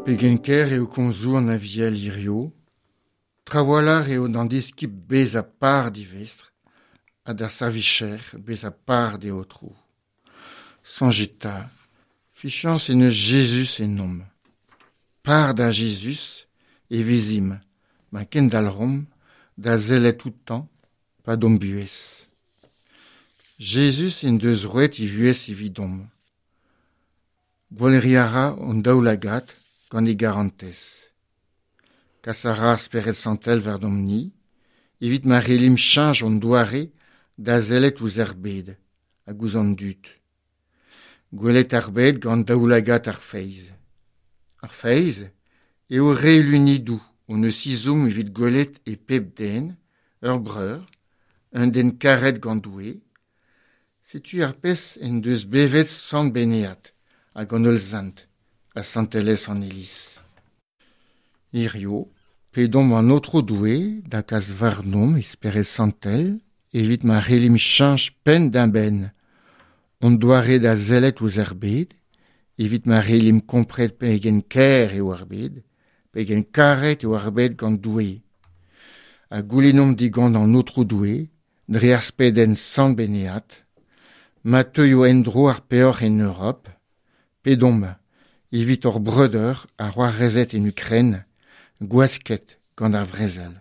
Pegen ker eo komzoù an Aviel hirio, trawalc'h eo d'an diskibl bezañ par d'e vestr ha d'ar servijer bezañ par d'e aotrou. Soñjit 'ta, fiziañs en deus Jezuz ennomp. Par da Jezuz e vezimp ma kendalc'homp da sellet outañ 'pad hon buhez. Jezuz en deus roet e vuhez evidomp. Gwaleriñ a ra hon daoulagad gant e garantez. Kas a ra ar Spered Santel warnomp-ni evit ma c'hellimp cheñch hon doare da sellet ouzh ar bed hag ouzh an dud. Gwelet ar bed gant daoulagad ar feiz. Ar feiz eo re lunidoù hon eus ezhomm evit gwelet e pep den ur breur, un den karet gant Doue. Setu ar pezh en deus bevet Sant Benead hag an holl sent ha santelezh an Iliz. Hirio, pedomp an Aotrou Doue da gas warnomp e Spered Santel evit ma c'hellimp cheñch penn-da-benn hon doare da sellet ouzh ar bed, evit ma c'hellimp kompren pegen kaer eo ar bed, pegen karet eo ar bed gant Doue. Ha goulennomp digant an Aotrou Doue, dre ar spedenn Sant Benead, ma teuio en-dro ar peoc'h en Europ, pedomp evit hor breudeur ha c'hoarezed en Ukraine, gwasket gant ar vrezel.